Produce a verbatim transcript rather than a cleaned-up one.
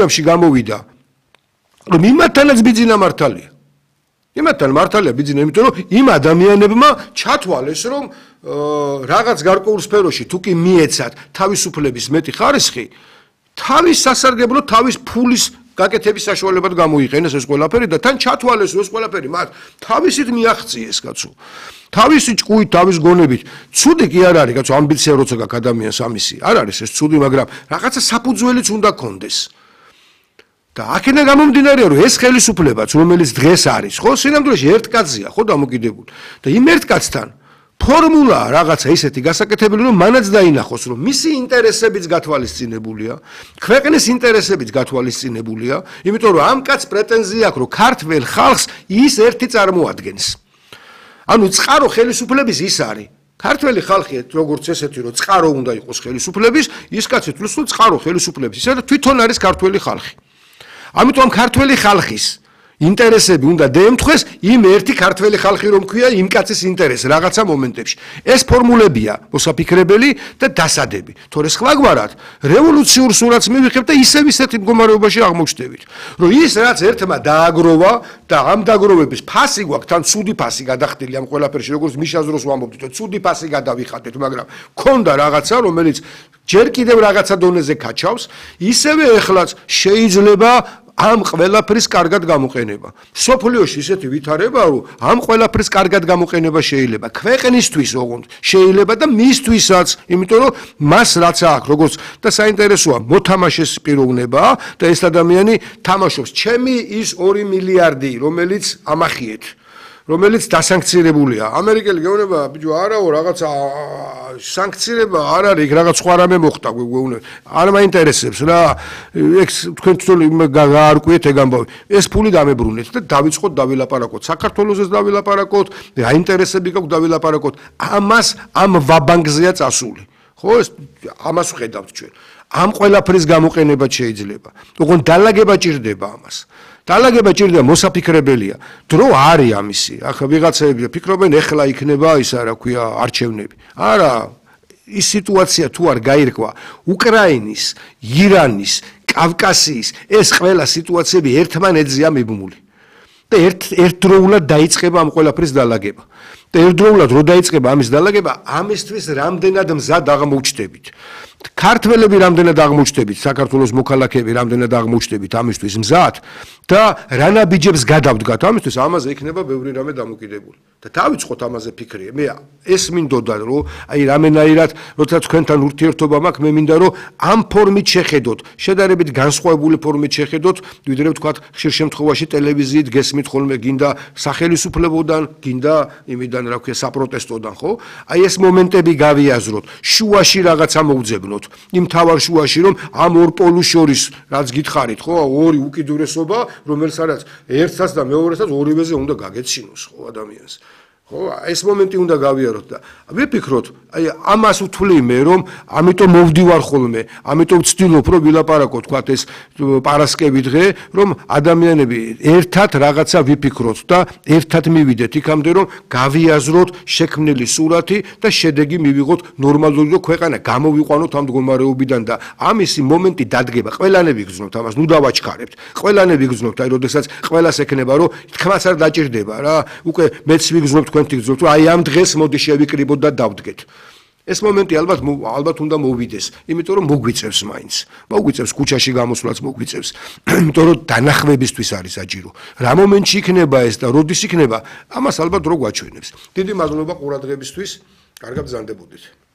ამში გამოვიდა რომ იმათანაც ბიძინა მართალია იმათთან მართალია ბიძინა იმიტომ რომ იმ ადამიანებმა ჩათვალეს რომ რაღაც გარკვეულ სფეროში თუ კი მიეცათ თავისუფლების მეტი ხარისხი თავის სასარგებლო თავის ფულის გაკეთების საშუალებად გამოიყენეს ეს ყველაფერი და თან ჩათვალეს ეს ყველაფერი მათ თავისით მიაღწიეს კაცო თავისი ჭკუით თავის გონებით ცუდი კი არ არის კაცო ამბიცია როცა გაქვს ადამიანს ამისი არ არის ეს ცუდი მაგრამ რაღაცა საფუძველიც უნდა კონდეს და აქედან გამომდინარეა რომ ეს ხელისუფლებაც რომელიც დღეს არის ხო სინამდვილეში ერთ კაცია ხო დამოკიდებული და იმ ერთ კაცთან ფორმულა რაღაცა ისეთი გასაკეთებელი რომ მანაც დაინახოს რომ მისი ინტერესებიც გათვალისწინებულია ქვეყნის ინტერესებიც გათვალისწინებულია იმიტომ რომ ამ კაცს პრეტენზია აქვს რომ ქართველ ხალხს ის ერთი წარმოადგენს ანუ წყარო ხელისუფლების ის არის ქართველი ხალხი როგორც ესეთი რომ წყარო უნდა იყოს ხელისუფლების ის კაცი თulis რომ წყარო ხელისუფლების ისე თვითონ არის ქართველი ხალხი ამიტომ ქართველი ხალხის ინტერესები უნდა დაემთხეს იმ ერთი ქართველი ხალხი რომ ქვია იმ კაცის ინტერესი რაღაცა მომენტებში ეს ფორმულებია მოსაფიქრებელი და დასადები თორე სხვაგვარად რევოლუციურ სურათს მივიღებთ და ისევ ისეთი მდგომარეობაში აღმოჩნდებით რომ ის რაც ერთმა დააგროვა და ამ დაგროვების ფასი გვაქვს თან ცუდი ფასი გადახდილი ამ ყველაფერში როგორც მიშას დროს ვამბობდით რომ ცუდი ფასი გადავიხადეთ მაგრამ ქონდა რაღაცა რომელიც ჯერ კიდევ რაღაცა დონეზე კაჩავს ისევე ეხლაც შეიძლება ამ ყველაფრის კარგად გამოყენება. სოფლიოში ისეთი ვითარება, რომ ამ ყველაფრის კარგად გამოყენება შეიძლება. ქვეყნისთვის ოღონდ შეიძლება და მისთვისაც, იმიტომ რომ მას რაც აქვს, როგორც და საინტერესოა, მოთამაშეს პიროვნება და ეს ადამიანი თამაშობს. ჩემი ის ორი მილიარდი, რომელიც ამახიეთ. რომელიც დასანქცირებულია. ამერიკელი გეუბნება, ბიჭო, არაო, რაღაცა სანქცირება არ არის, რაღაც სხვა რამე მოხდა, გეუბნება. არ მაინტერესებს რა. ეგ თქვენ თვითონ გაარკვიეთ ეგ ამბავი. ეს ფული დამებრუნეთ და დავიწყოთ დავილაპარაკოთ. საქართველოსს დავილაპარაკოთ, აინტერესები გაქვს დავილაპარაკოთ. ამას ამ ვაბანკზეა წასული. ხო, ეს ამას ვხედავთ ჩვენ. ამ ყველაფრის გამოყენება შეიძლება. ოღონდ დალაგება ჭირდება ამას. დალაგება ჭირდება მოსაფიქრებელია. დრო არის ამისი. ახლა ვიღაცები ფიქრობენ, ეხლა იქნება ისა რა ქვია არჩევნები. არა, ის სიტუაცია თუ არ გაირკვა, უკრაინის, ირანის, კავკასიის ეს ყველა სიტუაციები ერთმანეთზეა მიბმული. და ერთ ერთდროულად დაიწყება ამ ყველაფრის დალაგება. და ერთდროულად რო დაიწყება ამის დალაგება, ამისთვის რამდენად მზად აღმოჩნდებით. ქართველები რამდენად აღმოჩნდებით, საქართველოს მოქალაქეები რამდენად აღმოჩნდებით ამისთვის მზად და რა ნაბიჯებს გადავდგათ ამისთვის, ამაზე იქნება ბევრი რამე დამოკიდებული. და დავიწყოთ ამაზე ფიქრი. მე ეს მინდოდა რომ აი რამენაირად, როცა თქვენთან ურთიერთობა მაქვს, მე მინდა რომ ამ ფორმით შეხედოთ, შედარებით განსხვავებული ფორმით შეხედოთ, ვიდრე ვთქვათ, ხშირ შემთხვევაში ტელევიზიით გესმით ხოლმე გინდა სახელისუფლებოდან, გინდა იმიდან რა ქვია საპროტესტოდან, ხო? აი ეს მომენტები გავიაზროთ, შუაში რაღაცა მოვძებნოთ, იმ თავარ შუაში რომ ამ ორ პოლუს შორის რაც გითხარით, ხო, ორი უკიდურესობა, რომელსაც ერთსაც და მეორესაც ორივეზე უნდა გაგეცინოს, ხო, ადამიანს. ხო, ეს მომენტი უნდა გავიაროთ და ვიფიქროთ, აი ამას ვთვლი მე რომ ამიტომ მოვდივარ ხოლმე, ამიტომ ვცდილობ რომ ვილაპარაკო თქვათ ეს პარასკევი დღე, რომ ადამიანები ერთად რაღაცა ვიფიქროთ და ერთად მივიდეთ იქამდე რომ გავიაზროთ შექმნილი სურათი და შედეგი მივიღოთ ნორმალური რომ ქვეყანა გამოვიყვანოთ ამ მდგომარეობიდან და ამისი მომენტი დადგება. ყველანები გრძნობთ ამას, ნუ დავაჩქარებთ. ყველანები გრძნობთ, აი როდესაც ყველას ექნება რომ თქმაც არ დაჭირდება რა, უკვე მეც ვიგრძნობ თქვენ თქვენ აი ამ დღეს მოდი შევიკრიბოთ და დავდგეთ. ეს მომენტი ალბათ ალბათ უნდა მოვიდეს, იმიტომ რომ მოგვიწევს მაინც. მოგვიწევს ქუჩაში გამოსვლაც მოგვიწევს. იმიტომ რომ დანახვებისთვის არის საჭირო. რა მომენტში იქნება ეს და როდის იქნება, ამას ალბათ რო გვაჩვენებს. დიდი მადლობა ყურადღებისთვის. კარგად ბრძანდებოდეთ.